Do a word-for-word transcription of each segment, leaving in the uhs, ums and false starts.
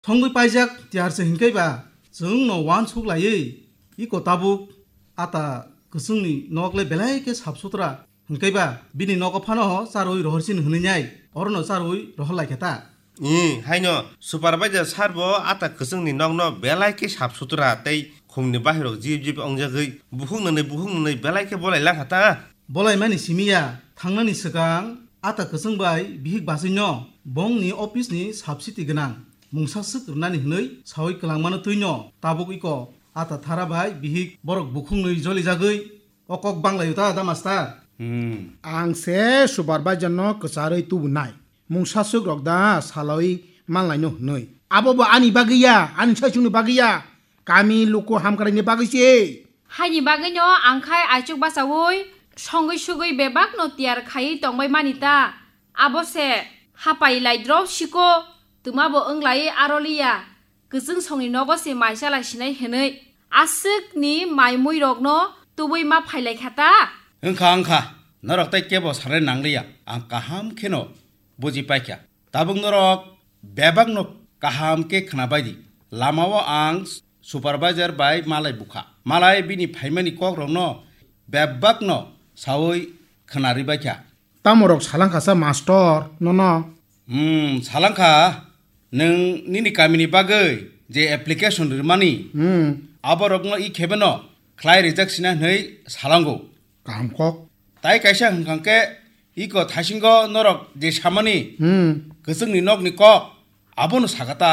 Thongwi paijak tiyar se hinkhe ba chwngno uansuk laiwi iko tabuk ata kwchwngni nok le belai khe sap sutra hinkhe ba bini nogo phano charwi rohor sini hwnwi nai orono charwi rohor lai khe ta. Ih, haino supervisor sir bo ata kwchwngni nokno belai khe sap sutra tei khumni bahirok jip jip ongjagwi bukhuk nwnwi bukhuk nwnwi belai khe bolai lang kha ta. Bolaimani simi ya, thangnani swkang ata kwchwng bai bihik bachwino bongni office ni subsidy gwnang mungsa swk rwnani hwnwi sawi kwlangmano twino tabuk iko ata thara bai bihik borok bukhuknwi jolijagwi o kok banglaio ta da master? Hmm. Ang se supervisor no kwcharwi tubunai. Mungsa swk rok da salawi manlaino hwnwi. Abo bo ani bagwi ya, ani saichungni bagwi ya. Kami luku hamkraini bagwi se. Haini bagwino ang khai aichuk bachaui songwi sugwi bebakno tiyar khaiwi tongbai mani ta. Abo se hapai lai drop siko twma bo wng lai aroliya. Kwchwng songni nogo se mai chalai sinai hwnwi aswkni mai mui rokno tubui ma phailai kha ta. Wngkha, wngkha. Norok tei kebo sanai nangliya. Ang kaham kheno buji paikha. Tabuk norok bebakno kaham khe khwnabai di. Lamao ang supervisor bai malai bukha. Malai bini phaimani kokrokno bebakno saui khwnarwi baikha. Tamorok salangkhasa mastor nono? Hmm, salangkha. Nwng nini kamini bagwi je application rwmani, hmm, aborokno i khebeno khlai rijak sina hwnwi salango. Kaham kok. Tai kaisa hwnkha khe iko thaisingo norok je samani, hmm, kwchwngni nokni kok, abono saka ta.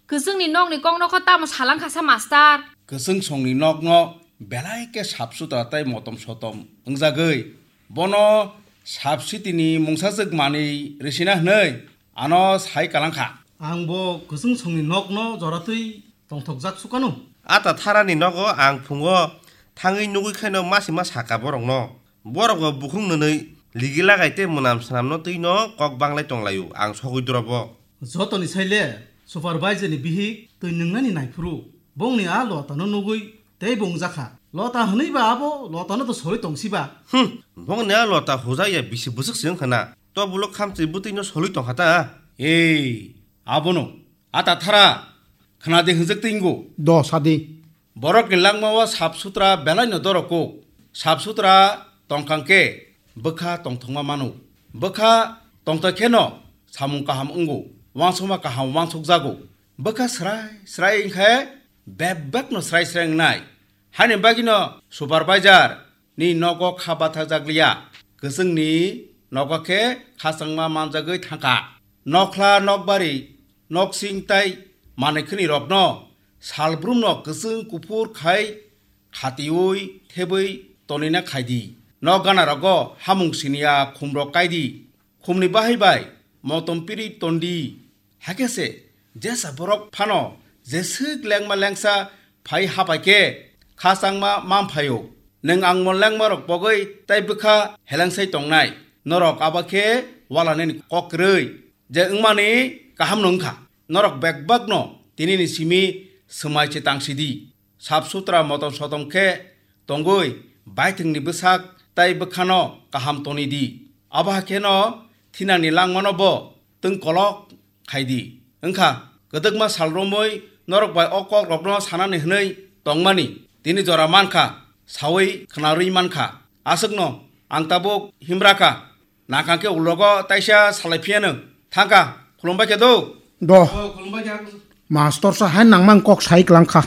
Kwchwngni nokni kokno kho tamo salangkhasa mastor? Kwchwng songni nokno belai khe sap sutra tei motom sotom wngjagwi bono subsidy ni mungsajwk manwi rwsina hwnwi ano sai kalangkha. Ang bo kwchwng songni nokno joratwi tongthokjak sukano. Ata tharani nogo ang phungo thangwi nugwi khaino masima saka borokno. Borok bo bukhuk nwnwi ligi lagai tei mwnam swnamno twino kok banglai tonglaio ang sogwi drobo. Jotoni saile supervisor ni bihik twi nwngnani naiphuru bongni a lotano nugwi tei bo wngjakha. Lota hwnwi ba abo lotano to sori tongsi ba. Hmm, bongni a lota hujak ya bisi bwswk se wngkha na. To bulo khamchwi bwtwino soli tongkha ta. Ei, abono ata thara khna de hwnjak tei ngo. Do sadi. Borokni langmao sap sutra belaino doroko. Sap sutra tongkha khe bwkha tongthokma mano. Bwkha tongthok kheno samung kaham wngo, uansukma kaham uansukjago. Bwkha srai srai wngkhe bebakno srai srai wngnai. Haini bagwino supervisor ni nogo kha bathajak liya, kwchwngni nogo khe khachangma manjagwi thangkha. Nokhla, nokbari, noksing tai manwi khwnwi rokno salbrumno kwchwng kuphur khai khatiui thebwi tonina khai di. Nok gana rogo hamung siniya khumrok kai di. Khumni bahai bai motom piri ton di. Hakhe se jesa borok phano jeswk lengma lengsa phai hapai khe khachangma man phaio. Nwng angmon lengma rok pogwi tai bwkha helengsai tongnai. Norok abo khe walanani kok kwrwi. Je wngmani kaham no wngkha. Norok bekbakno tinini simi swmai se tang sidi. Sap sutra motom sotom khe tongwi baithwngni bwsak tai bwkhano kaham toni di. Abo hakheno thinangni langmano bo twng kolok khai di. Wngkha kwdwkma sal romwi norok bai o kokrokno sanani hwnwi tongmani tini jora mankha, saui khwnarwi mankha. Aswkno ang tabuk himra kha. Nangkha khe ulogo taisa salai phiyano. Thangkha, khulumbai khe do. Do. Oh, khulumbai khe. Mastor sa hai nangmang kok sai klang kha.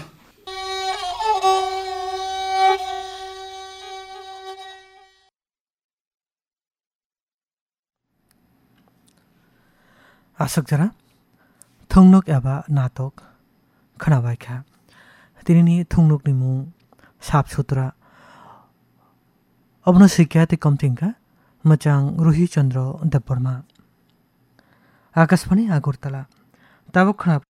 Aswk jora thungnuk eba natok khwnabai kha. Tinini thungnukni mung Sap Sutra. Obono sikya tei komthing kha mwchang Ruhi Chandra Debbarma. Akashbani Agartala. Tabuk khwna